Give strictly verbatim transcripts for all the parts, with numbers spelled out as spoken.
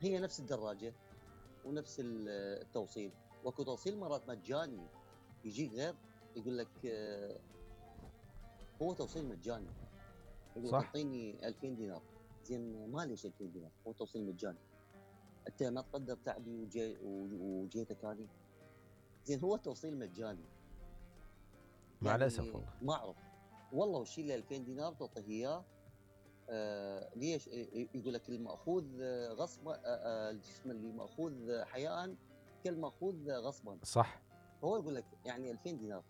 هي نفس الدراجه ونفس التوصيل. واكو توصيل مرات مجاني يجيك غير، يقول لك آه هو توصيل مجاني، يقول لك اعطيني ألفين دينار. زين ما ليش ألفين دينار؟ هو توصيل مجاني، انت ما تقدر تعبي وجي وجيتك هذه. زين هو توصيل مجاني مع يعني الاسف والله ما اعرف والله. وشي له ألفين دينار تعطيه اياه. آه ليش؟ يقول لك المأخوذ غصبا، آه آه الجسم اللي مأخوذ حياء كالمأخوذ غصبا. صح. هو يقول لك يعني ألفين دينار،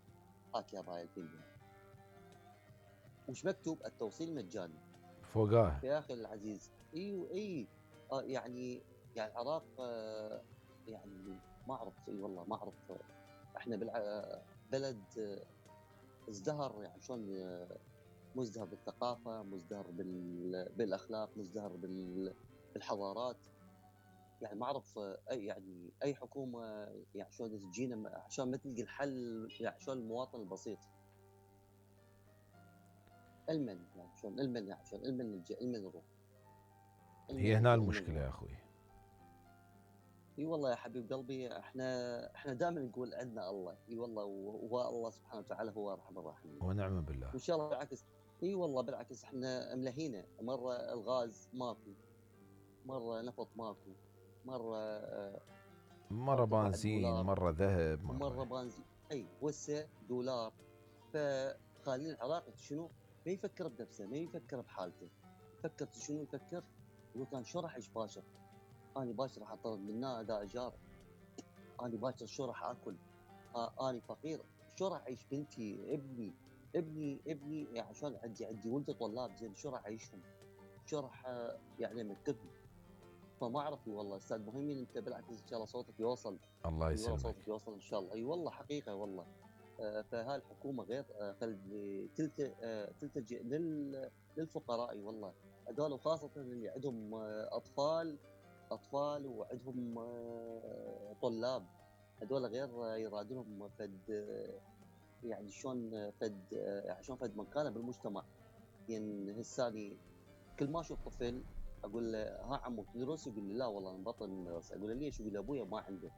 هاك يا باي ألفين دينار. وش مكتوب؟ التوصيل مجاني فوقاه يا اخي العزيز. ايوه اي آه يعني يعني العراق آه يعني ما اعرف. اي والله ما اعرف. احنا بلد ازدهر يعني شلون، مزدهر بالثقافه، مزدهر بالاخلاق، مزدهر بالحضارات. يعني ما اعرف اي يعني اي حكومه يعني شلون تجينا عشان ما تلقي الحل، يعني شلون المواطن البسيط المن يعني شلون المن يعني شلون المن نلجأ المن نروح. هي هنا المشكله يا اخوي. اي والله يا حبيب قلبي، احنا احنا دائما نقول عندنا الله. اي والله، وهو الله سبحانه وتعالى هو ارحم الراحمين ونعم بالله. وان شاء الله بالعكس. اي والله بالعكس احنا ملهينا. مره الغاز ماكو، مره نفط ماكو، مره مره بنزين، مره ذهب، مره مره بنزين. اي وسه دولار. فخالين العراق شنو؟ ما يفكر بنفسه، ما يفكر بحالته، يفكر شنو؟ يفكر يقول كان شو راح اعيش باكر؟ اني باكر راح اطرد من هنا اداء ايجار، اني باكر شو راح اكل؟ آه اني فقير، شو راح اعيش؟ بنتي ابني ابني ابني يعني عشان عندي عندي ولد طلاب، زين شو راح اعيشهم؟ شو راح يعني امكنهم؟ فما اعرف والله استاذ مهيمن. انت بالعكس ان شاء الله صوتك يوصل. الله يسلمك. والله صوتك يوصل ان شاء الله. اي والله حقيقه والله. آه فهاي الحكومه غير آه تلت آه تلتجئ لل للفقراء. اي والله هذول، وخاصه اللي عندهم آه اطفال اطفال وعندهم آه طلاب، هذول غير يرادلهم فد يعني شلون فد يعني شلون فد مكانه بالمجتمع. يعني هساني كل ما اشوف طفل اقول له ها عمو تدرس؟ يقول لي لا والله انا مبطل من المدرسه. اقول له ليش؟ يقول لي ابويا ما عنده.